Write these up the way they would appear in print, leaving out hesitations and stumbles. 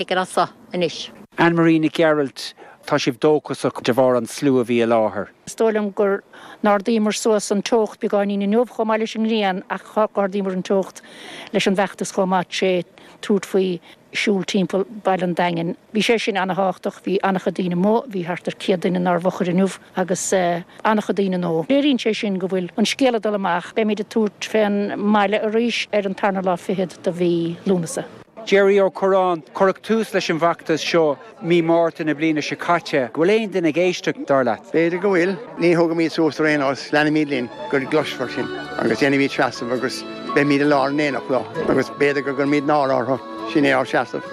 Ag an as anois. Anne Marie Nic Gearailt, Tá sibh dóchasach de bharr an slua a bhí i láthair. Is dóigh liom gur n-ardaíomar suas an teocht beagáinín inniu chomh maith leis an ngrian ach d'ardaíomar an teocht leis an bhfeachtas chomh maith tré tabhairt faoi siúl timpeall baile an Daingin. Bhí sé sin ana-thábhachtach, bhí ana-chuid daoine amuigh, bhí thart ar 100 duine inár bhfochair inniu agus ana-chuid daoine nó. Léiríonn sé sin go bhfuil an scéal ag dul amach. Beimid ag tabhairt fén mbaile arís ar an tarna lá fichead de mhí Lúnasa. Jerry Ó Curráin, Cuireadh tús leis an bhfeachtas seo mí Márta na bliana seo caite. Go bhfuil aon duine ag éisteacht, dar leat? B'fhéidir go bhfuil. Ní thógfaimid suas ar aon nós, leanfaimid linn go gcloisfear sinn agus déanfaimid seasamh agus beimid i lár an aonach leo agus b'fhéidir go gcuirfimid náire orthu. Sin é ár seasamh.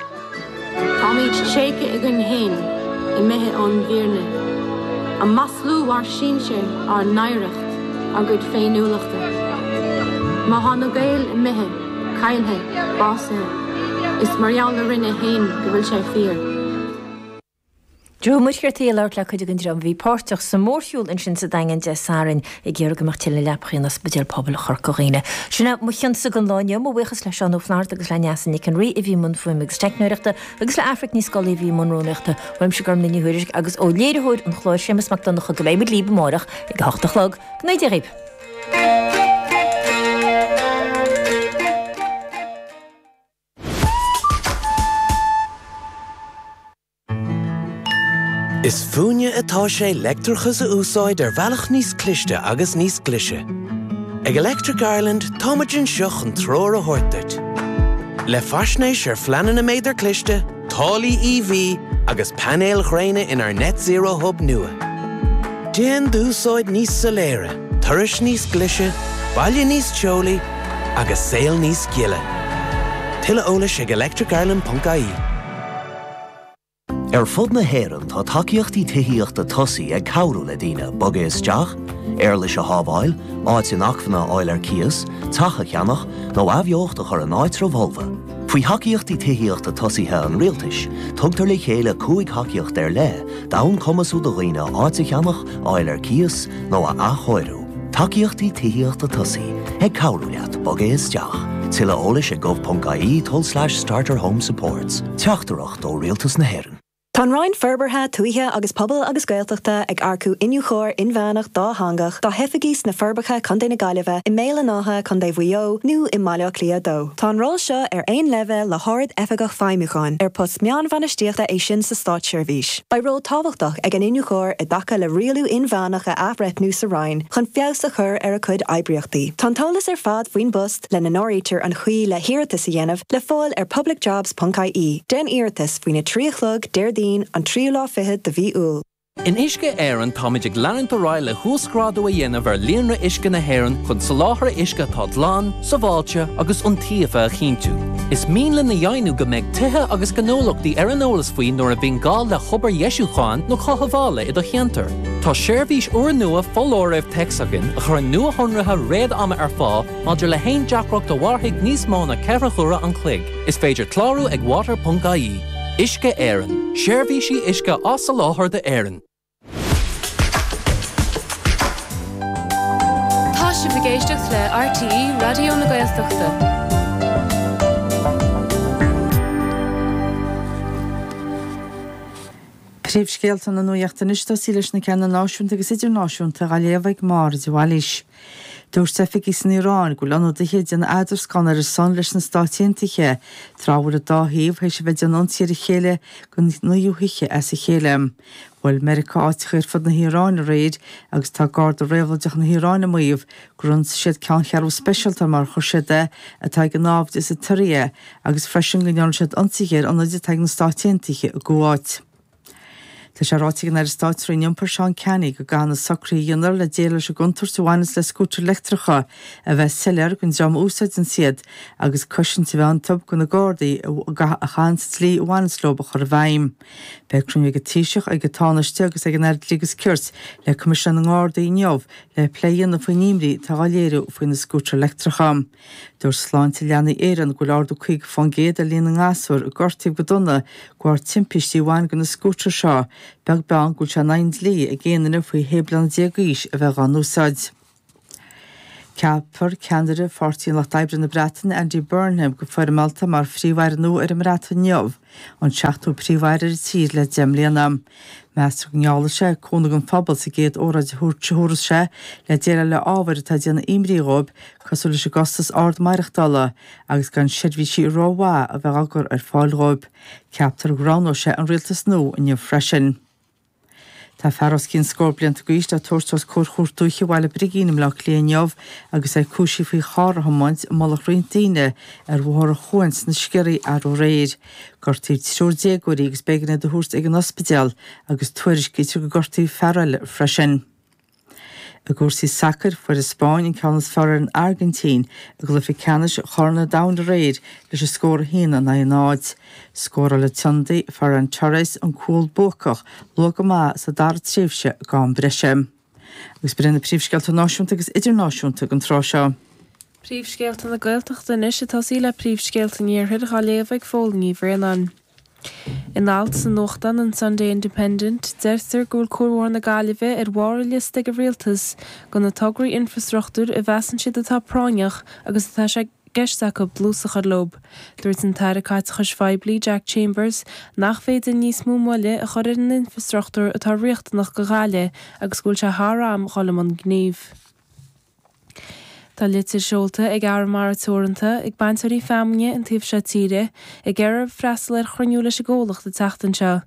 Táimid tréigthe againn féin, imithe ón bhfírinne. Ag maslú ár sinsir, ár n-oidhreacht, ár gcuid féiniúlachta. Má thá na Gaeil imithe, caillthe, básaithe, is mar gheall orainne féin go bhfuil sé fíor. Joe Ó Muircheartaigh ag labhairt le cuid den dream a bhí páirteach sa mhórshiúl ansin sa Daingean Dé Sathairn ag iarraidh go mbeadh tuilleadh leapachaí in Ospidéal Pobail Chorca Dhuibhne. Sin é mo chionsa don lá inniu. Mo bhuíochas le Seán Ó Flatharta agus le Neasa Nic an Rí a bhí i mbun fuaime agus teicneoireachta agus le Aifric Ní Scolaí a bhí i mbun rúnaíochta. Uaimse Gormlaith Ní Thuairisg agus ó léiritheoir an chláir Séamus Mac Donncha go mbeidh muid libh amárach ag a hocht a chlog. Go ngnóthaí Dia dhaoibh. Is fúinne atá sé leictreachas a úsáid ar bhealach níos cliste agus níos glaise. Ag Electric Ireland táimid anseo chun treoir a thabhairt duit. Le faisnéis ar phleananna méadar cliste, táillí EV agus painéil ghréine inár Net Zero Hub nua. Déan d'úsáid níos soiléire, turais níos glaise, baile níos teolaí agus saol níos gile. Tuilleadh eolais ag electricireland.ie. Ar fud na hÉireann tá tacaíochtaí tithíochta tosaigh ag cabhrú le daoine bogadh isteach, éarlais a shábháil, áit inacmhainne a fháil ar cíos, teach a cheannach, nó athbheocht a chur in áitreabh fholmha. Faoi Thacaíochtaí Tithíochta Tosaithe an Rialtais, tugtar le chéile 5 thacaíocht ar leith d'fhonn cumasú do dhaoine áit a cheannach, a fháil ar cíos, nó a athchóiriú. Tacaíochtaí Tithíochta Tosaigh, ag cabhrú leat bogadh isteach. Tuilleadh eolais ag gov.ie tulslais starter home supports. Teachtaireacht ó Rialtas na hÉireann. Tá an Roinn Forbartha Tuaithe agus Pobail agus Gaeltachta ag earcú Iniúchóir Inmheánach dátheangach dá hoifigí sna Forbacha, Co. na Gaillimhe, i mBéal an Átha, Co. Mhaigh Eo, nó i mBaile Átha Cliath 2. Tá an ról seo ar aon leibhéal le hArd-Oifigeach Feidhmiúcháin, ar post meánbhainistíochta é sin sa státseirbhís. Beidh ról tábhachtach ag an Iniúchóir i dtaca le rialú inmheánach a athbhreithniú sa Roinn chun feabhas a chur ar a cuid oibríochtaí. Tá an t-eolas ar fad faoin bpost, lena n-áirítear an chaoi le hiarratas a dhéanamh, le fáil ar publicjobs.ie. Déan iarratas faoina 3 a chlog, Déardaoin, an tríú lá fichead de mhí Iúil. In Uisce Éireann táimid ag leanúint ar aghaidh le huasghrádú a dhéanamh ar líonra uisce na hÉireann chun soláthar uisce atá glan, sábháilte agus iontaofa a chinntiú. Is mian linn a dheimhniú go mbeidh tithe agus gnólachtaí ar an eolas faoi nuair a bhíonn gá le hobair dheisiúcháin nó chothabhála i do cheantar. Tá seirbhís úrnua foláirimh téacs againn a chuireann nuashonruithe réad-ama ar fáil maidir le haon deacracht a mhairfidh níos mó ná 4 huaire an chloig. Is féidir clárú ag water.ie. Uisce Éireann, seirbhísí uisce á soláthar d'Éirinn. Tá sibh ag éisteacht le RTÉ Raidió na Gaeltachta. Príomhscéalta na nuachta anois, tosaí leis na ceanna náisiúnta agus idirnáisiúnta á léamh ag Máire de Bhailís. Dúirt oifigigh san Iaráin go bhfuil ionadaithe ag déanamh eadroscána ar a son leis na Stáit Aontaithe, tráth a bhfuil an dá thaobh théis a bheith ag déanamh ionsaí ar a chéile don naoú hoíche as a chéile. Bhuail Meiriceá áiteacha ar fud na hIaráine aréir agus tá Garda Réabhlóideach na hIaráine ag maíomh gur ionsaigh siad ceanncheathrú speisialta, mar a chuir siad é, atá ag an naimhdeas sa tSiria agus freisin go ndearna siad ionsaithe ar ionaid atá ag na Stáit Aontaithe i gCuáit. Tá sé ráite ag an Aire Stáit sa Roinn Iompair Seán Canney go gcaithfidh na socruithe a dhéantar le déileáil leis an gcontúirt a bhaineanns le scútair leictreacha a bheith soiléir don dream a úsáideanns iad agus cosaint a bheith iontu do na Gardaí a chaitheanns an dlí a bhaineanns leo a chur i bhfeidhm. Beidh cruinniú ag an Taoiseach, ag an Tánaiste agus ag an Aire Dlí agus Cirt le Coimisinéir na nGardaí inniu le plé a dhéanamh faoin imní atá á léiriú faoi na scútair leictreacha. Dúirt Sláinte Leanaí Éireann go bhfuil ardú 50% ar líon na ngasúr a gortaíodh go dona de bharr timpistí a bhain go na scútair seo, beag beann go bhfuil sé in aghaidh an dlí ag aon duine faoi shé bliana déag d'aois a bheith dhá n-úsáid. Ceapfar ceannaire Pháirtí an Lucht Oibre na Breataine, Andy Burnham, go foirmeálta mar Phríomh-Aire nua ar an mBreatain inniu, an seachtú Príomh-Aire ar an tír le 10 mbliana. Meastar go ngeallfaidh sé cúnamh don phobal sa gcéad óráid a thabharfas sé le déileáil le ábhair atá ag déanamh imní dhóibh cosúil leis an gcostas ard maireachtála agus gan seirbhísí rómhaith a bheith á gcur ar fáil dhóibh. Ceaptar go roghnóidh sé an rialtas nua inniu freisin. Tá fear os cionn scór blianta d'aois le tabhairt os comhair Chúirt Dúiche Bhaile Brigín i mBleá Cliath inniu agus é cúisithe faoi charr a thiomáint i mullach roinnt daoine ar Bhóthar an Chuain sna Sciorraí arú aréir. Gortaíodh triúr déagóirí agus b'éigean iad a thabhairt ag an ospidéal agus tuairiscítear gur gortaíodh fear eile freisin. I gcúrsaí sacair, fuair an Spáinn an ceann is fearr ar an Airgintín i gcluiche ceannais Chorn an Domhain aréir leis an scór 1 in aghaidh 0. Scóráil an t-ionadaí Ferran Torres an cúl buacach luath go maith sa dara tréimhse d'am breise. Agus b'in iad na príomhscéalta náisiúnta agus idirnáisiúnta don tráth seo. Príomhscéalta na Gaeltachta anois ag tosaí le príomhscéalta an Iarthair dhá léamh ag Fódhla Ní Bhraonáin. In alt sa nuachtán an Sunday Independent, deirtear go bhfuil Cuarbhóthar na Gaillimhe ar bharr an liosta ag an Rialtas de na tograí infreastruchtúir a mheasann siad atá práinneach agus atá sé i gceist acu dlús a chur leo. Dúirt an tAire Caiteachais Phoiblí Jack Chambers nach féidir níos mó moille a chur ar an infreastruchtúr atá riachtanach do Ghaillimh agus go bhfuil sé thar am dhul i mbun gnímh. Tá litir seolta ag Arramara Teoranta ag bainteoirí feamainne an taobh seo tíre ag iarraidh orthu freastal ar chruinniú leis an gcomhlacht an tseachtain seo.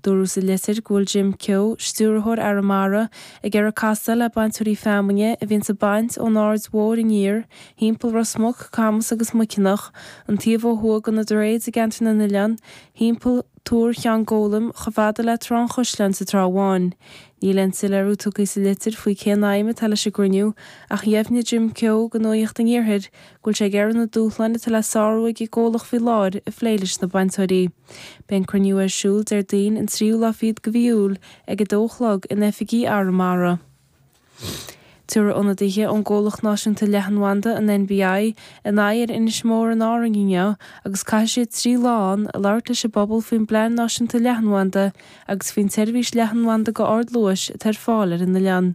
Dúradh sa litir go bhfuil Jim Keogh, Stiúrthóir Arramara, ag iarraidh castáil le bainteoirí feamainne a bhíonns ag baint ón Aird Mhóir aniar, thimpeall Ros Muc, Camas agus Muiceanach, an taobh ó thuaidh de na Droichid i gCeantar na nOileán, thimpeall Túr Cheann Gólaim chomh fada le Trá an Chaisleáin sa Trá Bháin. Níl aon soiléiriú tugtha sa litir faoi cén aidhm atá leis an gcruinniú ach dheimhnigh Jim Keogh do Nuacht an Iarthair go bhfuil sé ag iarraidh na dúshláin atá le sárú ag an gcomhlacht faoi láthair a phlé leis na bainteoirí. Beidh an cruinniú ar siúl Déardaoin an tríú lá fichead de mhí Iúil ag 2 a chlog in oifigí Arramara. Tabharfaidh ionadaithe ón gcomhlacht náisiúnta leathanbhanda, an NBI, a n-aghaidh ar Inis Mór in Árainn inniu agus caithfidh siad 3 lá ann ag labhairt leis an bpobal faoin bplean náisiúnta leathanbhanda agus faoin tseirbhís leathanbhanda go ardluais atá ar fáil ar an oileán.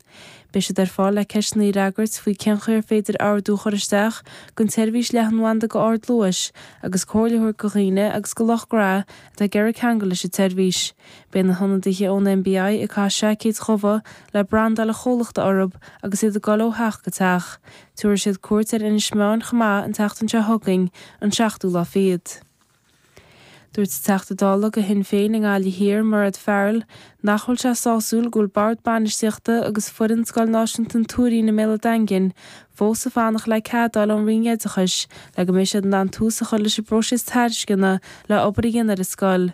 Beidh siad ar fáil le ceisteanna a fhreagairt faoi cén chaoi ar féidir ordú a chur isteach don tseirbhís leathanbhanda go ardluais agus comhairle a thabhairt do dhaoine agus do lucht gnó atá ag iarraidh ceangal leis an tseirbhís. Beidh na hionadaithe ón NBI ag caitheamh seaicéid dhubha le brandáil an chomhlachta orthu agus iad ag dul ó theach go teach. Tabharfaidh siad cuairt ar Inis Meáin chomh maith an tseachtain seo chugainn, an seachtú lá fichead. Dúirt an Teachta Dála do Shinn Féin i nGaillimh Thiar, Mairéad Farrell, nach bhfuil sé sásúil go bhfuil Bord Bainistíochta agus foireann Scoil Náisiúnta an Tuairín i mBéal an Daingin fós ag fanacht le cead a fháil ón Roinn Oideachais le go mbeidh siad in ann tús a chur leis an bpróiseas tairisceana le obair a dhéanamh ar an scoil.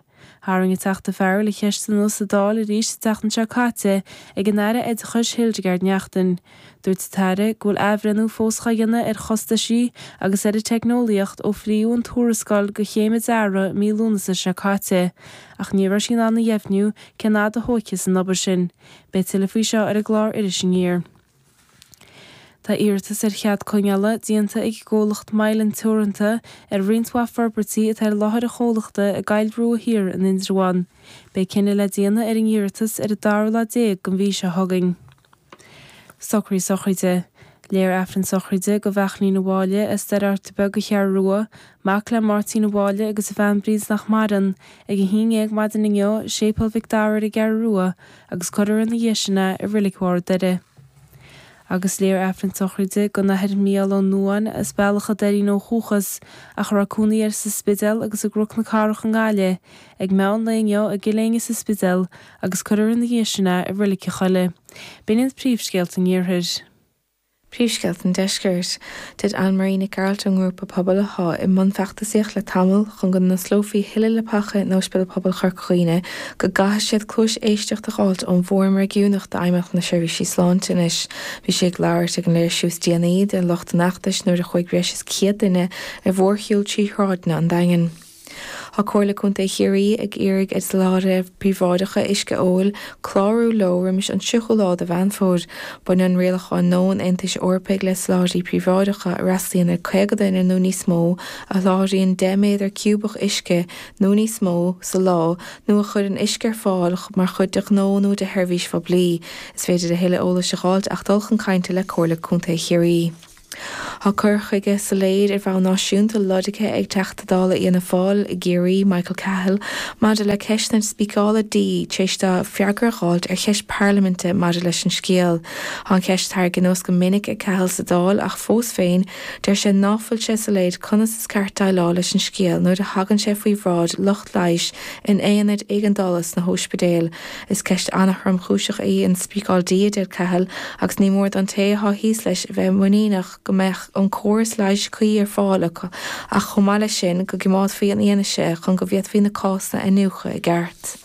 Tharraing an Teachta Farrell an cheist anuas sa Dáil arís an tseachtain seo caite ag an Aire Oideachais Hildegarde Naughton. Dúirt an tAire go bhfuil athbhreithniú fós dhá dhéanamh ar chostaisí agus ar an teicneolaíocht ó fríodh an tuarascáil go chéim an dearaidh i mí Lúnasa seo caite, ach ní raibh sí in ann a dheimhniú cén fhad a thógfas an obair sin. Beidh tuilleadh faoi seo ar an gclár Iris Aniar. Tá iarratas ar chead coinneála déanta ag an gcomhlacht Mylan Teoranta ar roinnt mhaith forbairtí atá ar láthair an chomhlachta i gCoill Rua Thiar in Indreabhán. Beidh cinneadh le déanamh ar an iarratas ar an dara lá déag den mhí seo chugainn. Socruithe sochraide. Léifear Aifreann sochraide do Bheachlaín a' Mháille as Doire Fhearta Beag an Cheathrú Rua, mac le Máirtín A' Mháille agus a bhean Bríd nach maireann, ag a haon dhéag maidin inniu i Séipéal Mhic Dara ar an gCeathrú Rua agus cuirfear ina dhiaidh sin é i Reilig Bharr an Doire. Agus léifear Aifreann sochraide don Athair Mícheál Ó Nuadháin as Bealach a' Doirín ó dhúchas ach a raibh cónaí air sa Spidéal agus i gCnoc na Cathrach i nGaillimh, ag meán lae inniu i gCill Éinne sa Spidéal agus cuirfear ina dhiaidh sin é i Reilig an Choilligh. B'in iad príomhscéalta an Iarthair. Príomhscéalta an Deiscirt. Dúirt Anne Marie Nic Gearailt ón ngrúpa pobail atá i mbun feachtasaíocht le tamall chun go n-osclófaí thuilleadh leapacha in Ospidéal Pobail Chorca Dhuibhne go gcaithfidh siad cluais éisteachta a dh'fháilt ón bhFóram Réigiúnach d'Fheidhmeannacht na Seirbhísí Sláinte anois. Bhí sí ag labhairt ag an léirsiú is déanaí de lucht an fheachtais nuair a chuaigh breis is 100 duine ar mhórshiúl trí shráideanna an Daingin. Tá Comhairle Contae Chiarraí ag iarraidh ar sholáthraithe príobháideacha uisce óil clárú leo roimis an 30ú lá de Mheán Fómhair. Baineann rialacháin nua an Aontais Eorpaigh le soláthraithe príobháideacha a fhreastalaíonn ar 50 duine nó níos mó, a sholáthraíonn 10 méadar ciúbach uisce nó níos mó sa lá nó a chuireann uisce ar fáil mar chuid de ghnó nó de sheirbhís phoiblí. Is féidir a thuilleadh eolais a dh'fháilt ach dul chun cainte le Comhairle Contae Chiarraí. Tá cur chuige soiléir ar bhonn náisiúnta lorgtha ag Teachta Dála Fhianna Fáil i gCiarraí, Michael Cahill, maidir le ceist na spíceála dí tar éis dó freagra a dh'fháilt ar cheist parlaiminte maidir leis an scéal. Tá an cheist tarraingthe anuas go minic ag Cahill sa Dáil ach fós féin, deir sé ná fuil sé soiléir conas is ceart déileáil leis an scéal nuair a thagann sé faoi bhráid lucht leighis in aonaid éigeandála sna hóispidéil. Is ceist an-thromchúiseach í an spíceáil dí, a deir Cahill, agus ní mór don té atá thíos leis a bheith muiníneach go mbeadh an córas leighis cuí ar fáil acu ach chomh maith leis sin go gcoimeádfaí an fhianaise chun go bhféadfaí na cásanna a iniúchadh i gceart.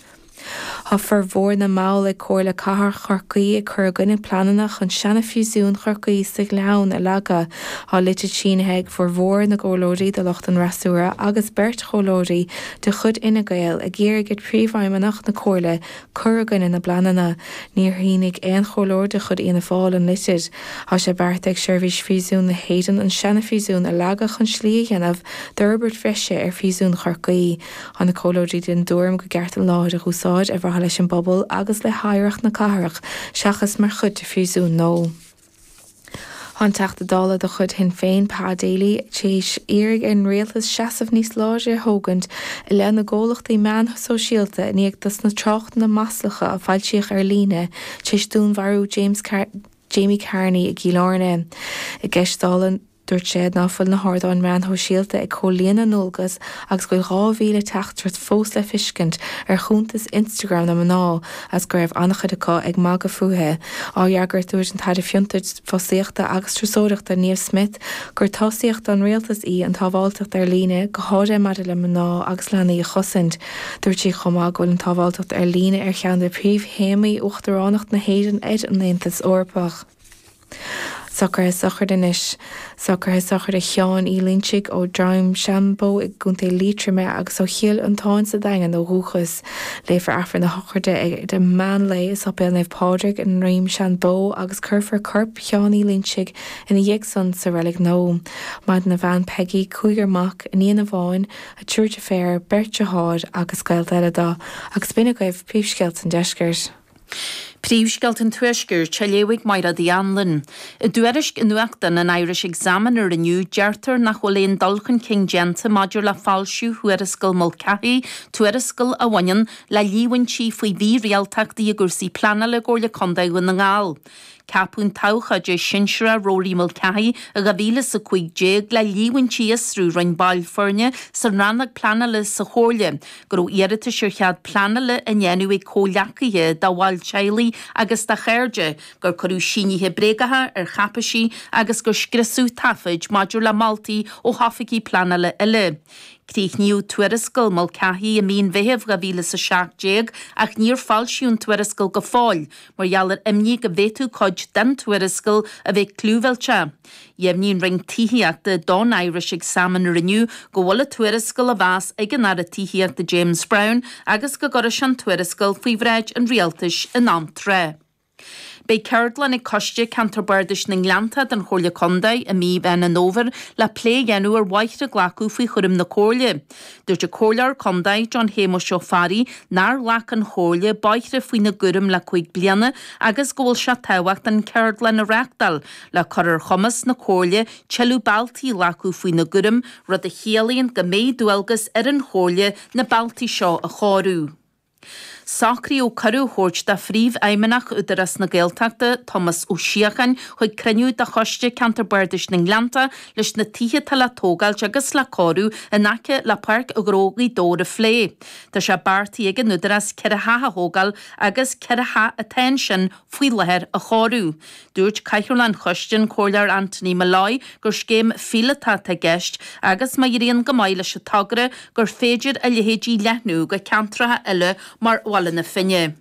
Tá formhór na mball ag Comhairle Cathrach Chorcaí ag cur i gcoinne pleananna chun seana-phríosún Chorcaí sa Ghleann a leagadh. Tá litir sínithe ag formhór na gcomhairleoirí de lucht an fhreasúra agus beirt chomhairleoirí de chuid Fhine Gael ag iarraidh ar Phríomhfheidhmeannach na Comhairle cur i gcoinne na bpleananna. Níor shínigh aon chomhairleoir de chuid Fhianna Fáil an litir. Tá sé beartaithe ag Seirbhís Phríosúin na hÉireann an seana-phríosún a leagadh chun slí a dhéanamh d'fhorbairt bhreise ar Phríosún Chorcaí. Tá na comhairleoirí den dtuairim go gceart an láthair a dh'úsáid ar mhaithe leis an bpobal agus le hoidhreacht na cathrach seachas mar chuid de phríosún nua. Tá an Teachta Dála de chuid Shinn Féin, Pa Daly, tar éis iarraidh ar an Rialtas seasamh níos láidre a thógaint i leith na gcomhlachtaí meán sóisialta i ndiaidh dos na tráchtanna maslacha a foilsíodh ar líne tar éis dúnmharú James Jamie Carney i gCill Airne. I gceist Dála Dúirt sé ná fuil na hardáin meáin shóisialta ag comhlíonadh a ndualgas agus go bhfuil 2,000 teachtaireacht fós le feiscint ar chuntas Instagram na mná agus go raibh an-chuid acu ag magadh fúithi. Á fhreagairt, dúirt an tAire Fiontair, Fostaíochta agus Turasóireachta Niamh Smyth gur tosaíocht don Rialtas í an tsábháilteacht ar líne, go háirithe maidir le mná agus leanaí a chosaint. Dúirt sí chomh maith go bhfuil an tsábháilteacht ar líne ar cheann de phríomhthéamaí Uachtaránacht na hÉireann ar an Aontas Eorpach. Socruithe sochraide anois. Socruithe sochraide Sheáin Uí Loinsigh ó Dhroim Seanbhó i gContae Liatroma agus ó Chill Fhionntáin sa Daingean ó dhúchas. Léifear Aifreann na sochraide ag meán lae i Séipéal Naomh Pádraig i nDroim Seanbhó agus cuirfear corp Sheáin Uí Loinsigh ina dhiaidh san sa Reilig Nua. Maireann a bhean Peggy, cúigear mac, iníon amháin, a triúr deirféar, beirt deartháir agus gaolta eile dó. Agus b'in agaibh príomhscéalta an deiscirt. Príomhscéalta an Tuaiscirt á léamh ag Mairéad Uí Anluain. I dtuairisc i nuachtán an Irish Examiner inniu, deirtear nach bhfuil aon dul chun cinn déanta maidir le foilsiú thuarascáil Mulcahy, tuarascáil a bhaineann le líomhaintí faoi mhírialtachtaí i gcúrsaí pleanála i gComhairle Contae Dhún na nGall. Ceapadh an t-abhcóide sinsearach Rory Mulcahy i 2015 le líomhaintí a fhiosrú a rinne baill foirne sa rannóg pleanála sa Chomhairle go raibh iarratais ar chead pleanála á ndéanamh ag comhghleacaithe de bhaill teaghlaigh agus de chairde, gur cuireadh sínithe bréagacha ar cháipéisí agus gur scriosadh taifid maidir le moltaí ó hoifigigh pleanála eile. Críochnaíodh tuarascáil Mulcahy i mí an Mheithimh 2017 ach níor foilsíodh an tuarascáil go fóill mar gheall ar imní go bhféadfadh cuid den tuarascáil a bheith clúmhillteach. Dheimhnigh an Roinn Tithíochta don Irish Examiner inniu go bhfuil an tuarascáil á mheas ag an Aire Tithíochta James Browne agus go gcuirfidh sé an tuarascáil faoi bhráid an Rialtais in am trátha. Beidh ceardlann ag Coiste Ceantar Bardais na nGleanntach den Chomhairle Contae i mí Mheán an Fhómhair le plé a dhéanamh ar bhóithre a glacadh faoi chúram na Comhairle. Dúirt an Comhairleoir Contae, John Shéamuis Ó Fearraigh, nár ghlac an Chomhairle bóithre faoina gcúram le 5 bliana agus go bhfuil sé tábhachtach an ceardlann a reáchtáil le cur ar chumas na Comhairle tuilleadh bealtaí a ghlacadh faoina gcúram, rud a chiallaíonn go mbeidh dualgas ar an Chomhairle na bealtaí seo a chóiriú. Socraíodh cuireadh a thabhairt do Phríomhfheidhmeannach Údarás na Gaeltachta, Tomás Ó Síocháin, chuig cruinniú de Choiste Ceantar Bardais na nGleanntach leis na tithe atá le tógáilt agus le cóiriú in aice le Páirc Ghnó Ghaoth Dobhair a phlé. Tá sé beartaithe ag an Údarás 4 theach a thógáil agus 4 theach atá ansin faoi láthair a chóiriú. Dúirt Cathaoirleach an Choiste, an Comhairleoir Anthony Molloy, gur scéim phíolótach atá i gceist agus má éiríonn go maith leis an togra gur féidir a leithéid a leathnú go ceantracha eile mar Bhaile na Finne.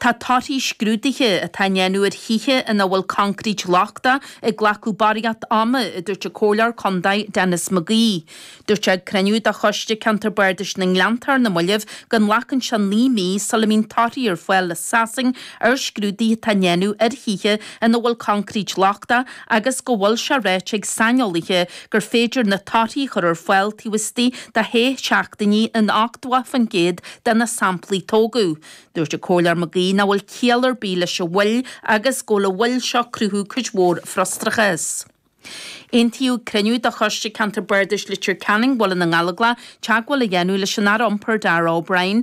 Tá torthaí scrúduithe atá á ndéanamh ar thithe ina bhfuil concrete lochtach ag glacadh barraíocht ama, a dúirt an Comhairleoir Contae Denis McGee. Dúirt sé ag cruinniú de Choiste Ceantar Bardais na nGleanntach ar na mallaibh go nglacann sé 9 mí sula mbíonn torthaí ar fáil le Sasain ar scrúduithe atá á ndéanamh ar thithe ina bhfuil concrete lochtach agus go bhfuil sé ráite ag saineolaithe gur féidir na torthaí a chur ar fáil taobh istigh de shé seachtainí in 80% de na samplaí tógadh. Dúirt an Comhairleoir McGee nach bhfuil ciall ar bith leis an mhoill agus go bhfuil an mhoill seo ag cruthú cuid mhór frustrachais. Aontaíodh ag cruinniú de Choiste Ceantar Bardais Leitir Ceanainn, Bhaile na nGallóglach teagmháil a dhéanamh leis an Aire Iompair Darragh O'Brien.